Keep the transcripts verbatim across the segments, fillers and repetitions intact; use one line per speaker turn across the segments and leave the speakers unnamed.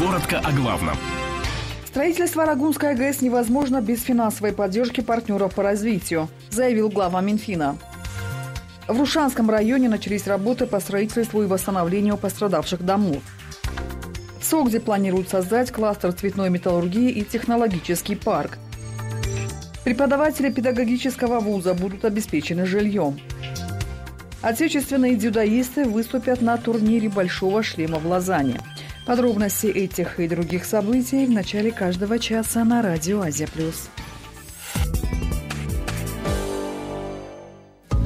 Коротко о главном.
Строительство Рогунской ГЭС невозможно без финансовой поддержки партнеров по развитию, заявил глава Минфина. В Рушанском районе начались работы по строительству и восстановлению пострадавших домов. В Согде планируют создать кластер цветной металлургии и технологический парк. Преподаватели педагогического вуза будут обеспечены жильем. Отечественные дзюдоисты выступят на турнире «Большого шлема» в Лозанне. Подробности этих и других событий в начале каждого часа на радио «Азия плюс».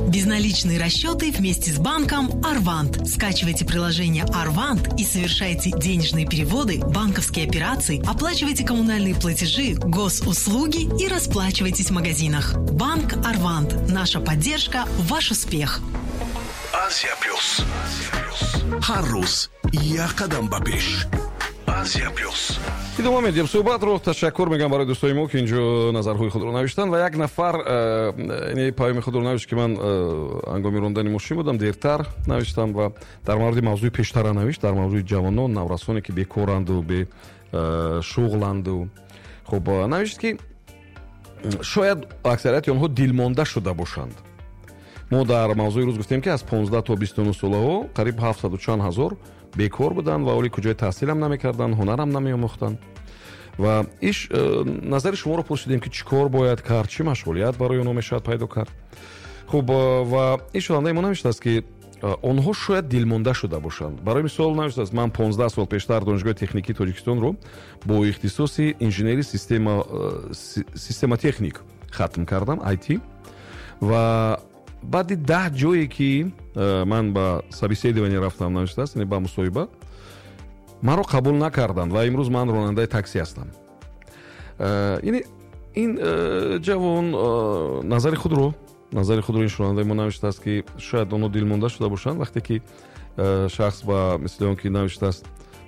Безналичные расчеты вместе с банком «Арвант». Скачивайте приложение «Арвант» и совершайте денежные переводы, банковские операции, оплачивайте коммунальные платежи, госуслуги и расплачивайтесь в магазинах. Банк «Арвант». Наша поддержка – ваш успех.
Азия плюс. Ҳар рӯз як қадам ба пеш. Азия плюс.
Идома медиҳем суҳбатро. Ташаккур мегӯям барои дӯстои мо, ки инҷо назарҳои худро навиштанд, ва як нафар ин паёми худро навишт, ки ман ҳангоми рондани мошин будам, дертар навиштам ва дар мавриди мавзӯи пештара навишт, дар мавзӯи ҷавонон, наврасоне, ки бекоранду бешуғланду. Хуб, навишт, ки шояд аксарияти онҳо дилмонда шуда бошанд. Мо дар мавзӯи рӯз гуфтем, ки аз понздаҳ то бисту нӯҳ солаҳо қариб ҳафтсаду чанд ҳазор бекор буданд ва оли куҷои таҳсилам намекарданд, ҳунарам намеомӯхтанд. Ва иш назари шуморо пурсидем, ки чӣ кор бояд кард, чӣ машғулият барои онҳо мешавад пайдо кард. Хуб, ва ин шунавандаи мо навиштааст, ки онҳо шояд дилмонда шуда бошанд. Барои мисол навиштааст: ман понздаҳ сол пештар Донишгоҳи техникии Тоҷикистонро бо ихтисоси инженери системотехник хатм кардам, ай ти, ва баъди даҳ ҷое, ки ман ба собеседование рафтам, навиштааст, яъне ба мусоҳиба, маро қабул накарданд ва имрӯз ман ронандаи такси ҳастам. Яъне ин ҷавон назари худро назари худро ин шунавандаи мо навиштааст, ки шояд онҳо дилмонда шуда бошанд, вақте ки шахс ба мисли он ки навиштааст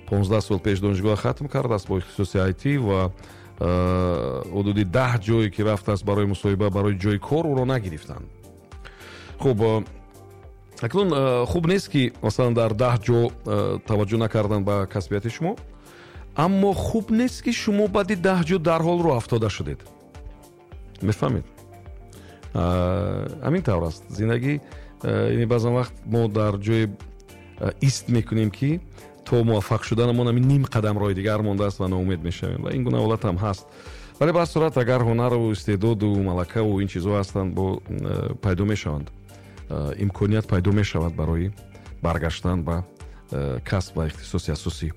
понздаҳ сол пеш донишгоҳ хатм кардааст бо ихтисоси ай ти ва ҳудуди даҳ ҷое, ки рафтааст барои мусоҳиба, барои ҷои кор, ӯро нагирифтанд. Хуб, акнун хуб нест, ки масалан дар даҳ ҷо таваҷҷӯҳ накардан ба касбияти шумо, аммо хуб нест, ки шумо баъди даҳ ҷо дарҳол роҳ афтода шудед. Мефаҳмед? Ҳамин тавр аст зиндагӣ. Яъне баъзан вақт мо дар ҷое ист мекунем, ки то муваффақ шуданамон ҳамин ним қадам роҳи дигар мондааст ва ноумед мешавем, ва ин гуна ҳолат ҳам ҳаст. Вале ба ҳар сурат, агар ҳунару истеъдоду малакаву ин чизҳо ҳастанд, бо пайдо мешаванд, имконият пайдо мешавад барои баргаштан ба касб ва ихтисоси асосӣ.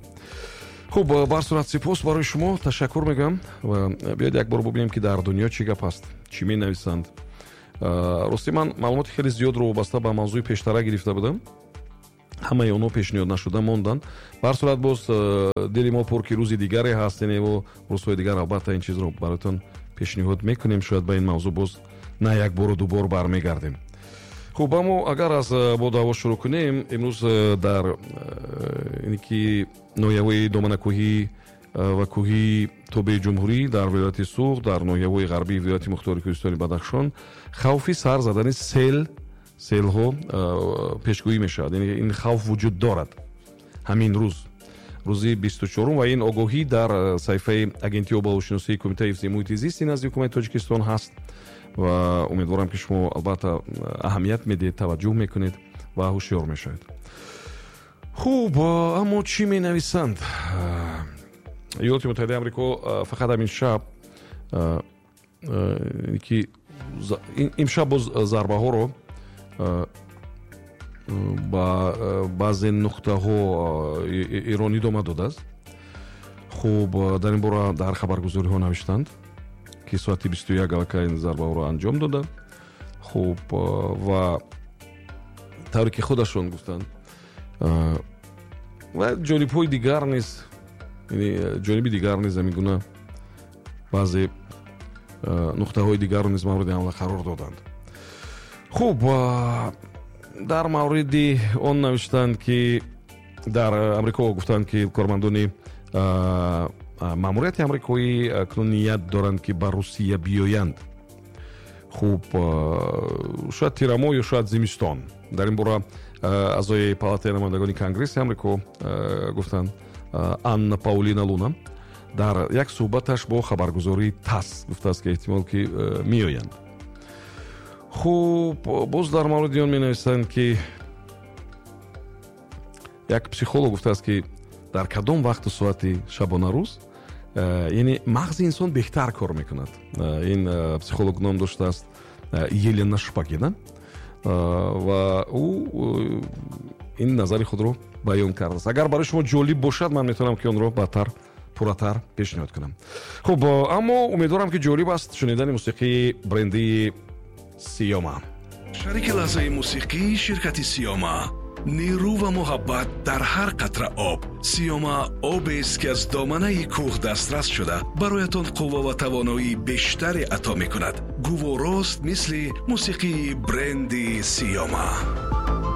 Хуб, ба ҳар сурат сипос барои шумо, ташаккур мегӯям ва биёед як бор бубинем, ки дар дунё чӣ гап аст, чӣ менависанд. Рости ман маълумоти хеле зиёдро вобаста ба мавзӯи пештара гирифта будам, ҳамаи онҳо пешниҳод нашуда монданд. Ба ҳар сурат боз дили мо пур, ки рӯзи дигаре ҳаст, яъне рӯзҳои дигар албатта ин чизро бароятон пешниҳод мекунем. Шояд ба ин мавзӯъ боз на як бору ду бор бармегардем. Хуб, аммо агар аз бодаҳаво шурӯъ кунем, имрӯз дар ин ки ноҳияҳои доманакӯҳӣ ва кӯҳии тобеи ҷумҳурӣ, дар вилояти Суғд, дар ноҳияҳои ғарбии вилояти мухтори Кӯҳистони Бадахшон хавфи сар задани сел селҳо пешгӯӣ мешавад. Яъне ин хавф вуҷуд дорад ҳамин рӯз, рӯзи бисту чорум, ва ин огоҳӣ дар саҳифаи агентии обҳавошиносии Кумитаи ҳифзи муҳити зисти назди ҳукумати Тоҷикистон ҳаст ва умедворам, ки шумо албатта аҳамият медиҳед, таваҷҷӯҳ мекунед ва ҳушёр мешавед. Хуб, аммо чӣ менависанд? Иёлоти Муттаҳидаи Амрико фақат ҳамин шаб, ки имшаб боз зарбаҳоро ба баъзе нуқтаҳо Эрон идома додааст. Хуб, дар ин бора дар хабаргузориҳо навиштанд, ки соати бисту як аллакай ин зарбаҳоро анҷом доданд. Хуб, ва тавре ки худашон гуфтанд, ва ҷонибҳои дигар низ, яъне ҷониби дигар низ ҳамин гуна баъзе нуқтаҳои дигарро низ мавриди ҳамла қарор доданд. Хуб, дар мавриди он навиштанд, ки дар Амрико гуфтанд, ки кормандони маъмурияти амрикоӣ акнун ният доранд, ки ба Русия биёянд. Хуб, шояд тирамоҳ ё шояд зимистон. Дар ин бора аъзои палатаи намояндагони Конгресси Амрико гуфтанд Анна Паулина Луна дар як суҳбаташ бо хабаргузории ТАСС гуфтааст, ки эҳтимол ки меоянд. Хуб, боз дар мавриди он менависанд, ки як психолог гуфтааст, ки дар кадом вақту соати шабонарӯз, яъне мағзи инсон беҳтар кор мекунад. Ин психолог ном доштааст Елена Шпагина ва ӯ ин назари худро баён кардааст. Агар барои шумо ҷолиб бошад, ман метавонам, ки онро баъдтар пурратар пешниҳод кунам. Хуб, аммо умедворам, ки ҷолиб аст шунидани мусиқии брендии Сиёма.
Шарики лаҳзаи мусиқӣ ширкати Сиёма. Нерӯ ва муҳаббат дар ҳар қатра об. Сиёма обест, ки аз доманаи кӯҳ дастрас шуда, бароятон қувва ва тавоноии бештаре ато мекунад. Гуворост, мисли мусиқии бренди Сиёма.